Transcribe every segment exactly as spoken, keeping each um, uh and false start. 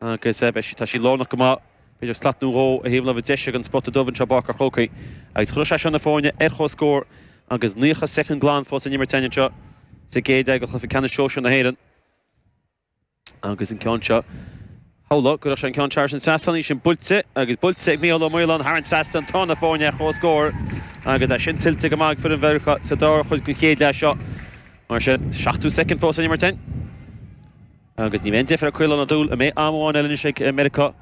Agus beidh tá sí lárnach go maith, b'fhéidir slat nó dhó ar thaobh láimhe deise den spota dubh anseo i bPáirc an Chrócaigh. Agus chuirfeadh sé seo na foirne ar comhscór agus naocha soicind glan fós in imirt againn anseo sa gcéad leath de chluiche ceannais sóisir na hÉireann. Agus an ceann seo, shamhlófá go gcuirfeadh sé an ceann thar an trasnán, í sin buailte agus buailte ag Mícheál Ó Maoláin thar an trasnán, tá na foirne ar comhscór agus é sin tuillte go maith ag foireann Mheiriceá sa dara cuid den chéad leath seo. Mar sin, seachtó soicind fós in imirt againn. Agus ní bheidh aon deifir ar Caolán Ó Dúill, an mbeidh am amháin eile anois ag Meiriceá?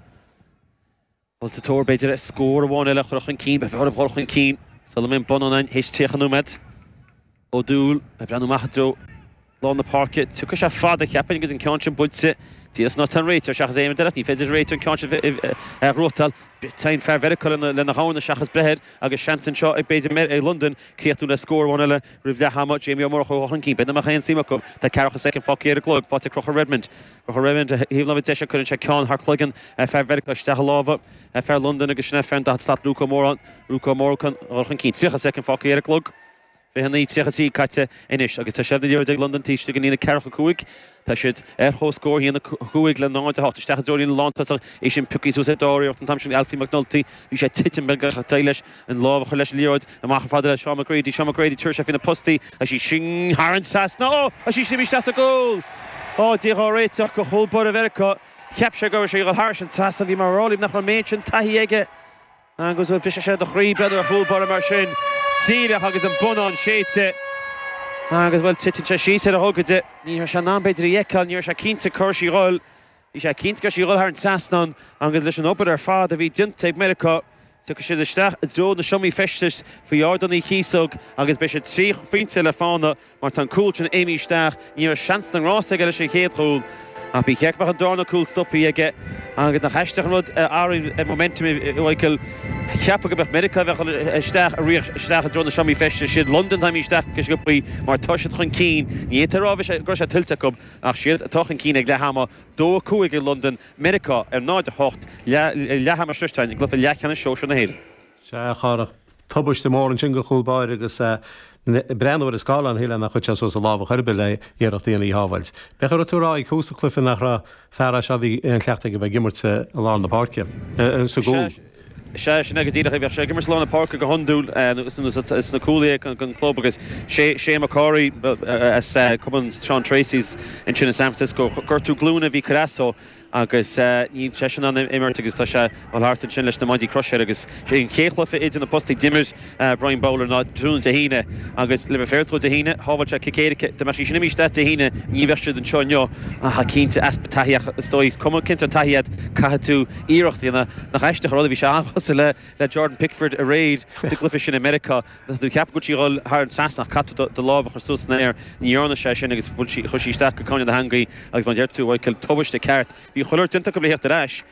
Dul sa tóir, b'fhéidir, ar scór amháin eile a chur chun cinn, beidh orthu dul chun cinn sula mbeidh an bonnán ann théis tríocha nóiméad. Ó Dúill ag breathnú amach i dtreo lár na páirce. Tiocfaidh sé fada, cheapfainn, agus an ceann sin buailte díreach san áit atá an réiteoir seachas aon rud eile. Ní féidir an réiteoir an ceann sin a ghnóthachtáil. Téann fear Mheiriceá lena dhorn seachas breith air agus seans anseo ag b'fhéidir ag Londain críochnú le scór amháin eile roimh leath ama. Jamie Ó Murchú chun cinn. B'fhéidir nach mbeadh aon suim acu. Tá ceathracha soicind fágtha ar an gclog. Faighte ag Conchúr Redmond. Conchúr Redmond ar thaobh láimhe deise cuireann sé ceann thar cloigeann fear Mheiriceá isteach i lámha fear Londain agus sin é fear an daichead slat Luke Ó Móráin. Luke Ó Móráin chun cinn. Tríocha soicind fágtha ar an gclog. fiche naoi tríocha trí caite anois agus tá seilbh na liathróide ag Londain taobh istigh den líne ceathracha cúig. Tá siad ar comhscór, a haon a cúig le náid a hocht. Isteach i dtreo líne lántosach, é sin pioctha suas ar dár iarracht an t-am sin ag Alfie McNulty. Bhí sé ag titim beag ach d'éirigh leis an lámh a chur leis an liathróid. Amach chomh fada le Seán McGrady. Seán McGrady, tabharfaidh sé faoi na postaí agus í sin thar an trasnán. Ó! Agus í sin imithe isteach sa gcúl! Ó, Dia dhá réiteach do chúl báire Mheiriceá. Cheap sé go raibh sé ag dul thairis an trasnán. Bhí mé ag rá libh nach raibh an méid sin taithí aige. Agus bhuel, brisfeadh sé do chroí breathnú ar chúl báire mar sin, díreach agus an bonnán séidte. Agus bhuel, titeann sé síos ar a ghogaide. Ní raibh sé in ann b'fhéidir í a fheiceáil, ní raibh sé cinnte cá raibh sí a dhul. Bhí sé cinnte go raibh sí a dhul thar an trasnán agus leis an obair ar fad a bhí déanta ag Meiriceá, tiocfaidh siad isteach i dtreo na seomraí feistis faoi Ardán Uí Chíosóg agus beidh siad trí phointe le fána. Mar tá an cúl sin imithe isteach, ní raibh seans na ngrást aige leis an chéad chúl. Ach ba cheart go mbeadh an darna cúl stoptha aige agus nach aisteach an rud a athraíonn momentum a Mhichael. Cheapfá go mbeadh Meiriceá a bheadh isteach ag rith isteach i dtreo na seomraí feistis. Siad Londain atá imithe isteach go sciobthaí mar tá siad chun cinn. Ní fhéadfá a rá go raibh sé tuillte acu ach siad atá chun cinn ag leath ama, dó a cúig ag Londain, Meiriceá ar náid a hocht, leath ama sroichte againn i gcluiche leathcheannais sóisir na hÉireann. Sea, a Chárthach, tubaiste mór ansin do chúl báire agus breathnú ar an scáileán, shílfeá nár chuir sé suas a lámh ar chor ar bith le iarracht a dhéanamh í a shábháilt. B'fhéidir go raibh tú ag rá ag tús an chluiche nach raibh fear é seo a bhí aon chleachtadh aige a bheith ag imirt i lár na páirce, sa gcúl. Sea, sin é go díreach é. Bheadh sé ag imirt i lár na páirce go hiondúil sna cúlaithe don chlub agus Shane McCorry as cumann Sean Treacy's ansin i San Francisco. Gortú glúine a bhí ag cur as dó. Agus níl seisean in ann imirt agus tá sé ag dul thart ansin leis na maidí croise air agus sé an chéad chluiche idir na postaí d'imir Brian Bowler ná tráthnóna Dé hAoine agus le bheith féaráilte dhó Dé hAoine shábháil sé cic éirice. Dá mbeadh sí sin imithe isteach Dé hAoine ní bheadh siad anseo inniu ach cinnte easpa taithí ach is dóigh is cuma cén sórt taithí agat caithfidh tú iarracht a dhéanamh. Nach aisteach an rud a bhí sé an-chosúil le le Jordan Pickford aréir sa gcluiche sin i Meiriceá. Tá tú ag ceapadh go bhfuil sí ag dul thar an trasnán ach caithfidh tú do lámh a chur suas san aer. Ní dhearna sé sin agus bhuail sí, chuir sí isteach go cúinne na heangaí agus mar a deir tú, Michael, tubaiste ceart. Bhí chuile shórt déanta acu le theacht ar ais.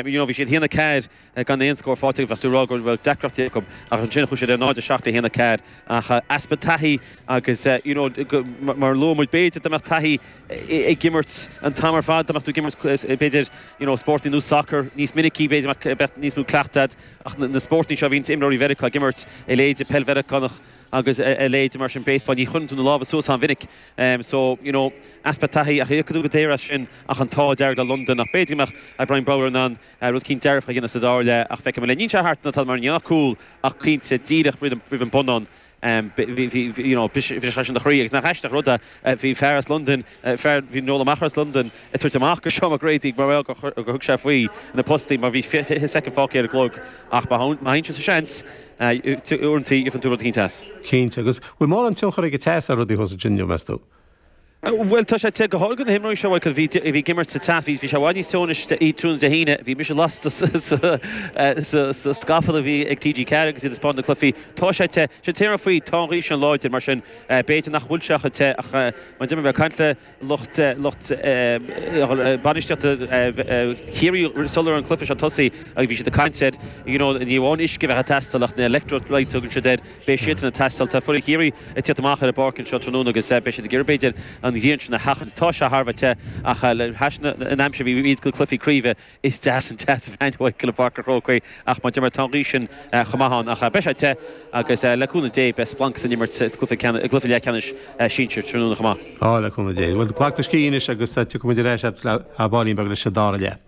You know, bhí siad haon a ceathair gan aon scór faighte acu, bheadh tú ag rá go raibh deacrachtaí acu ach ansin chuaigh siad ar náid a seacht le haon a ceathair. Ach easpa taithí agus you know, mar a luaigh muid, b'fhéidir dá mbeadh taithí ag imirt an t-am ar fad, dá mbeadh tú ag imirt b'fhéidir you know, spórtaí nós sacar níos minicí, b'fhéidir mbeadh níos mó cleachtadh agat. Ach na spórtaí seo a bhíonns imreoirí Mheiriceá ag imirt, a leithéide peil Mheiriceánach agus a leithéide mar sin, baseball, ní chuireann tú na lámha suas an-mhinic. So, you know, easpa taithí ach íocfaidh tú go daor as sin ach an t-ádh dearg le Londain. Ach b'fhéidir go mbeadh Brian Bowler in ann rud eicínt dearfach a dhéanamh sa dara leath ach feicfidh muid linn. Níl sé thart ná tada mar ní ach cúl ach cinnte díreach roimh an bonnán. Bhí, you know, bhris sé sin do chroí agus nach aisteach rud é, bhí fear as Londain, fear, bhí Noel Ó Meachair as Londain ag tabhairt amach go Seán McGrady mar gheall gur thug sé faoi na postaí mar bhí fiche soicind fágtha ar an gclog ach má thagann sé sa seans, uaireanta gheobhann tú rud eicínt as. Cinnte, agus bhfuil mórán tionchar ag an teas ar rudaí thuas ansin inniu, meas tú? Bhuel, tá sé te, go háirithe do na himreoirí seo, Michael, bhí bhí ag imirt sa teas, bhí bhí sé i bhfad níos teo anois tráthnóna Dé hAoine, bhí mise lasta sa scafall a bhí ag T G ceathair agus iad ag spáint na cluichí. Tá sé te. Sé an t-aon rud faoi, tá an ghaoth sin láidir, mar sin b'fhéidir nach bhfuil sé chomh te ach mar deir mé, bheith ag caint le lucht lucht bainistíochta Chiarraí sular an cluiche seo tosaí agus bhí siad ag caint ar, you know, ní amháin uisce a bheith ag teastáil ach na electrolytes a thugann siad air, Beidh siadsan ag teastáil. Tá foireann Chiarraí ag tíocht amach ar an bpáirc anseo tráthnóna agus beidh siad ag iarraidh, b'fhéidir, an ghrian sin a sheachaint. Tá sé thar a bheith te ach le hais an aimsir a bhí iad go cluichí craoibhe, is deas an teas a bheith i bPáirc an Chrócaigh ach mar a deir mé, tá an ghaoth sin chomh maith ann. Ach beidh sé te agus le cúnamh Dé beidh splanc san imirt sa gcluiche leathcheannais sinsir tráthnóna chomh maith. Á, le cúnamh Dé. Bhuel, glac do scíth anois agus tiocfaidh muid ar ais le baillín beag leis an dara leath.